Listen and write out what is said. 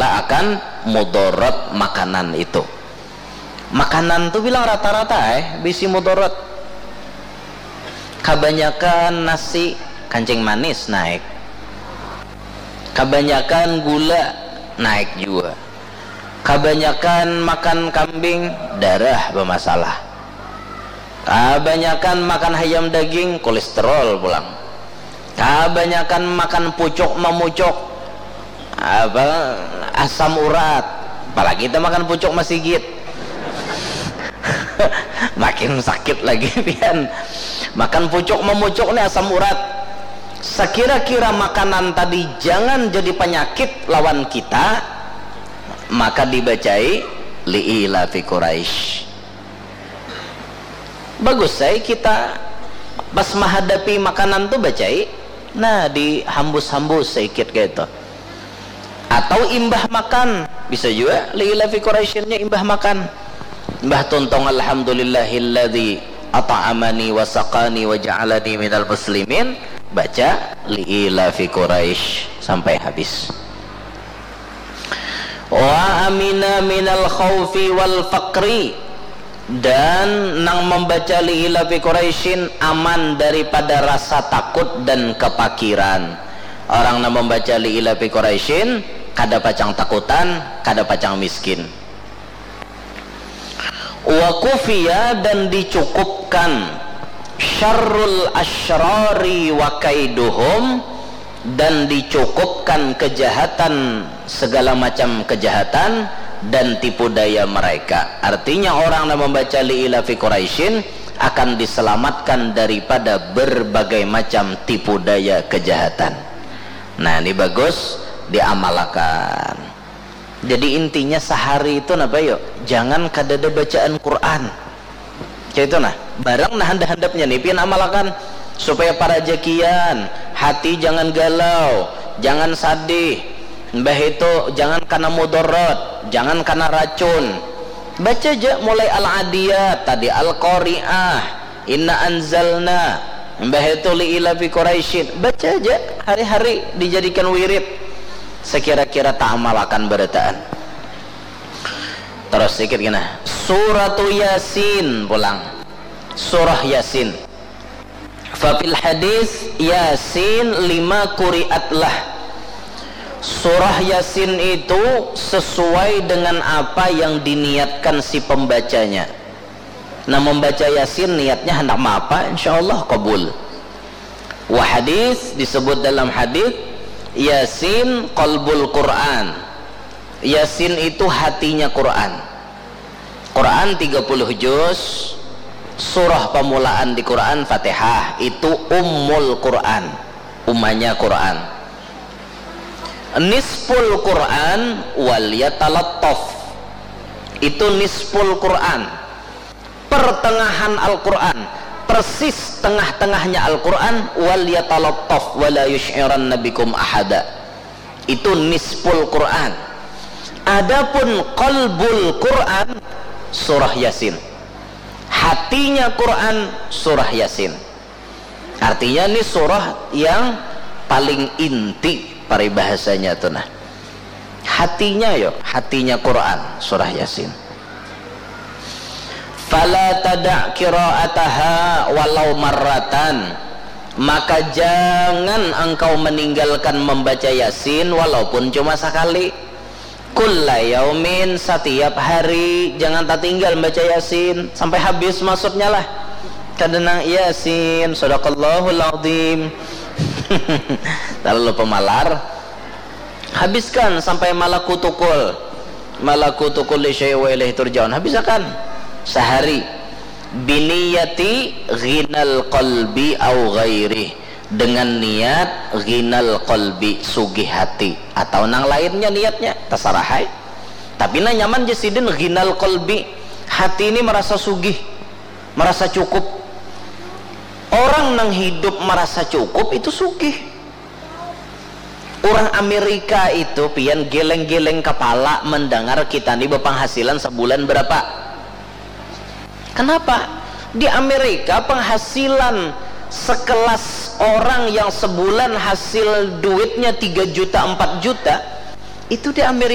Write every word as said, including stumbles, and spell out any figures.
akan mudarat makanan itu. Makanan tu bilang rata-rata eh bisi mudarat. Kabanyakan nasi, kancing manis naik. Kabanyakan gula, naik jua. Kabanyakan makan kambing, darah bamasalah. Kabanyakan makan hayam daging, kolesterol pulang. Kabanyakan makan pucuk mamucuk, apa, asam urat. Apalagi kita makan pucuk masigit. Makin sakit lagi pian. Makan pucuk mamucuk ni asam urat. Sakira-kira makanan tadi jangan jadi panyakit lawan kita, maka dibacai liilafi Quraisy. Bagus ai kita pas mahadapi makanan tu bacai, nah, dihambus-hambus saikit kaitu. Atau imbah makan, bisa jua liilafi Quraisyin nya imbah makan. Imbah tuntung, "Alhamdulillahilladzi at'amani wa saqani wa ja'alani minal muslimin," baca liilafi Quraisy sampai habis. "Wa amina minal khaufi wal faqri," dan nang mambaca liilafi Quraisyin aman daripada rasa takut dan kapakiran. Orang nang mambaca liilafi Quraisyin kada pacang takutan, kada pacang miskin. "Wa kufiya," dan dicukupkan, "syarrul asyrari wa kaiduhum," dan dicukupkan kejahatan, segala macam kejahatan dan tipu daya mereka. Artinya, orang nang mambaca liilafi Quraisyin akan diselamatkan daripada berbagai macam tipu daya kejahatan. Nah, ini bagus diamalakan. Jadi, intinya sahari itu napa yo? Jangan kadada bacaan Quran. Kaitu nah, barang nah handap-handapnya nih pian amalakan supaya parajakian, hati jangan galau, jangan sadih, mbah itu jangan kana mudarat, jangan kana racun. Baca ja mulai Al-Adiyat tadi, Al-Qari'ah, Inna Anzalna, mbah itu Liilafi Quraisyin. Baca ja hari-hari dijadikan wirid. Sakira-kira taamalakan barataan. Terus sikit kena. Suratu Yasin pulang. Surah Yasin. Fafil hadis Yasin lima quri'at lah. Surah Yasin itu sesuai dengan apa yang diniatkan si pembacanya. Nah, membaca Yasin niatnya hendak maapa, insya Allah kabul. Wa hadis, disebut dalam hadis, Yasin qalbul Quran. Yasin itu hatinya Quran. Quran tiga puluh juz, surah pamulaan di Quran Fatihah, itu ummul Quran, umanya Quran. Nisful Quran wal yatalattaf, itu nisful Quran, pertengahan Al-Quran, persis tengah-tengahnya Al-Quran, wal yatalattaf wala yusy'iranna bikum ahada. Itu nisful Quran. Adapun qalbul Quran, surah Yasin. Hatinya Quran, surah Yasin. Artinya, ini surah yang paling inti paribahasanya tu nah. Hatinya yo, hatinya Quran, surah Yasin. Fala tada' qira'ataha walau marratan. Maka jangan engkau meninggalkan membaca Yasin walaupun cuma sakali. Kulla yaumin, satiap hari, jangan tatinggal membaca Yasin sampai habis maksudnya lah. Kada nang Yasin, sadaqallahul azim. Terlalu pemalar. Habiskan sampai malakutukul. Malakutukul li syai' wa ilaihi turja'un. Habisakan sahari. Biniyati ghinal qalbi au ghairi, dengan niat ghinal qalbi, sugih hati, atau nang lainnya niatnya, tasarah ai. Tapi nang nyaman ja sidin ghinal qalbi, hati ini merasa sugih, merasa cukup. Orang nang hidup merasa cukup itu sugih. Urang Amerika itu pian geleng-geleng kapala mendangar kita ni bepenghasilan sebulan berapa. Kenapa? Di Amerika penghasilan sekelas orang yang sebulan hasil duitnya tiga juta, empat juta, itu di Amerika